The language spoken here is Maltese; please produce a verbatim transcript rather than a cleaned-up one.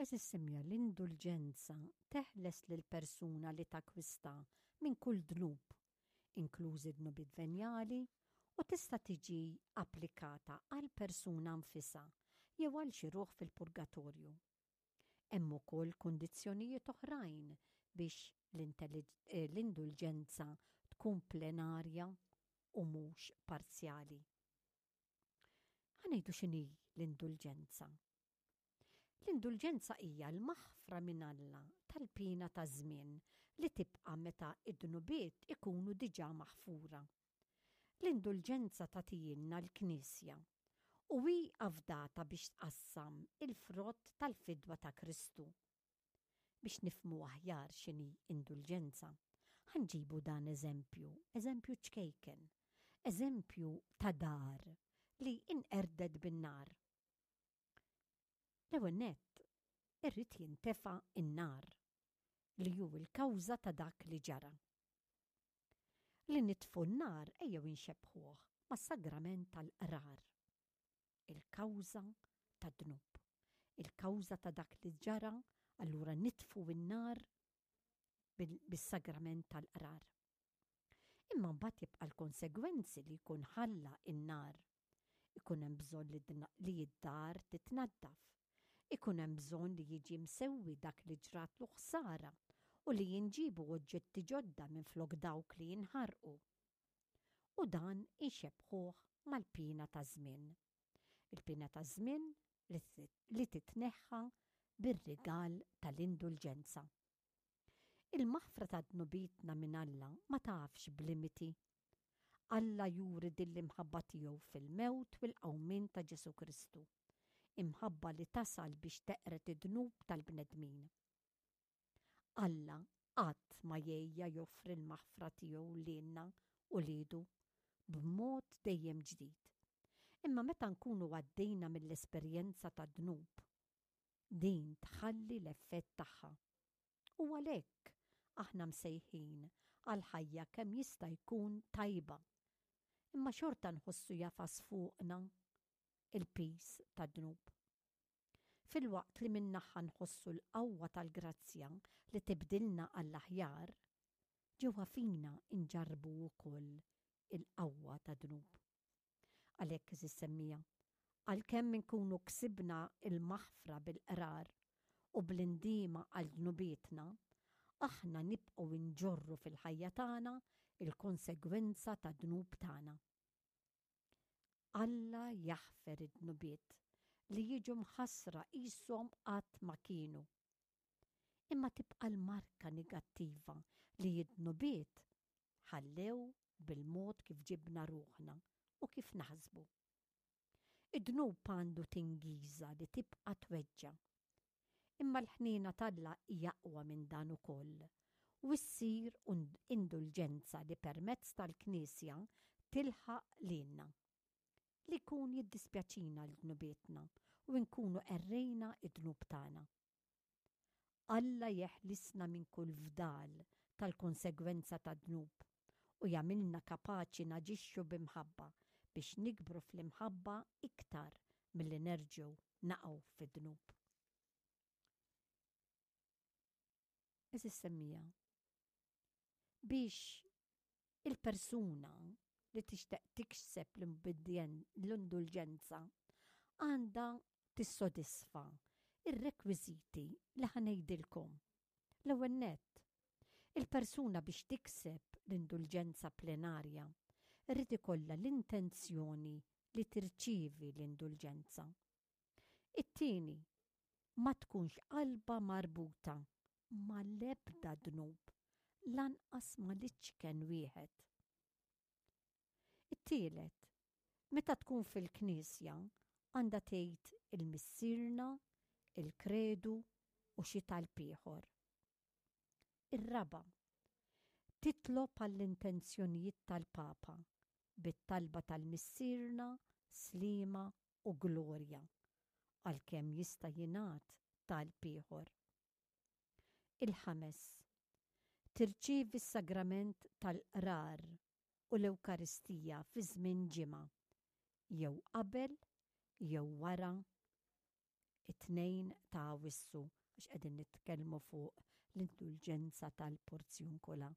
Għeżież semmiegħa, l-indulġenza teħles lil persuna li takkwista minn kull dnub, inklużi dnubiet venjali, u tista' tiġi applikata għal persuna nfisha jew għal xi ruħ fil-purgatorju. Hemm ukoll kundizzjonijiet oħrajn biex eh, l-indulġenza tkun plenarja u mhux parzjali. Ħa ngħidu x'inhi l-indulġenza. L-indulġenza hija l-maħfra minn Alla tal-pina ta' żmien li tibqa' meta id-dnubiet ikunu diġà maħfura. L-indulġenza tagħtihielna l-Knisja u hi afdata biex tqassam il-frott tal-fidwa ta' Kristu. Biex nifhmu aħjar x'inhi indulġenza, ħa nġibu dan eżempju, eżempju ċkejken, eżempju ta' dar li inqerdet bin-nar. L-ewwel nett irrid jintefa' in-nar li hu l-kawża ta' dak li ġara. Li nitfu n-nar ejjew inxebbħuh mas-sagrament tal-qrar. Il-kawża tad-dnub. Il-kawża ta' dak li ġara, allura nitfu n-nar bis-sagrament tal-qrar. Imma mbagħad jibqa' l-konsegwenzi li jkun ħalla in-nar. Ikun hemm bżonn li d-dar titnaddaf. Ikun hemm bżonn li jiġi msewwi dak li ġratlu ħsara u li jinġibu oġġetti ġodda minn flok dawk li jinħarqu. U dan inxebbħuh mal-pina ta' żmien. Il-pina ta' żmien li titneħħa bir-rigal tal-indulġenza. Il-maħfra ta' dnubietna minn Alla ma tafx b'limiti. Alla juri din l-imħabba tiegħu fil-mewt u l-qawmien ta' Ġesu Kristu. Imħabba li tasal biex teqret id-dnub tal-bnedmin. Alla qatt ma jgħejja joffri l-maħfra tiegħu lilna uliedu b'mod dejjem ġdid. Imma meta nkunu għaddejna mill-esperjenza ta' dnub, din tħalli l-effett tagħha. U għalhekk aħna msejħin għal ħajja kemm jista' jkun tajba. Imma xorta nħossu jagħfas fuqna il-piż tad-dnub. Filwaqt li min-naħa nħossu l-qawwa tal-grazzja li tibdilna għall-aħjar, ġewwa fina nġarrbu wkoll il-qawwa tad-dnub. Għalhekk, għeżież semmiegħa, għalkemm inkunu ksibna il-maħfra bil-qrar u bl-indiema għal dnubietna, aħna nibqgħu nġorru fil-ħajja tagħna il-konsegwenza tad-dnub tagħna. Alla jaħfer id-dnubiet li jiġu mħassra qishom qatt ma kienu. Imma tibqa' l-marka negattiva li id-dnubiet ħallew bil-mod kif ġibna ruħna u kif naħsbu. Id-dnub għandu tingiża li tibqa' tweġġa'. Imma l-ħniena t'Alla hija aqwa minn dan ukoll u ssir indulġenza li permezz tal-Knisja tilħaq lilna. Li jkun jiddispjaċina l-dnubietna u nkunu qerrejna id-dnub tagħna. Alla jeħlisna minn kull fdal tal-konsegwenza tad-dnub u jagħmilna kapaċi naġixxu b'imħabba biex nikbru fl-imħabba iktar milli nerġgħu naqgħu fid-dnub. Għeżież semmiegħa, biex il-persuna li tixtieq tikseb l-indulġenza għandha tissodisfa ir-rekwiżiti li ħa ngħidilkom. L-ewwel nett, il-persuna biex tikseb l-indulġenza plenarja irrid ikollha l-intenzjoni li tirċievi l-indulġenza. It-tieni, ma tkunx qalba marbuta mal-ebda dnub, lanqas mal-iċken wieħed. It-tielet, meta tkun fil-knisja għandha tgħid il-Missierna, il-Kredu u xi talb ieħor. Ir-raba', titlob għall-intenzjonijiet tal-Papa bit-talba tal-Missierna, Sliema u Glorja, għalkemm jista' jingħad talb ieħor. Il-ħames, tirċievi s-sagrament tal-qrar u l-Ewkaristija fi żmien ġimgħa, jew qabel jew wara it-tnedija. It-tnejn ta' Awwissu, għax qegħdin nitkellmu fuq l-indulġenza tal-Porzjunkula.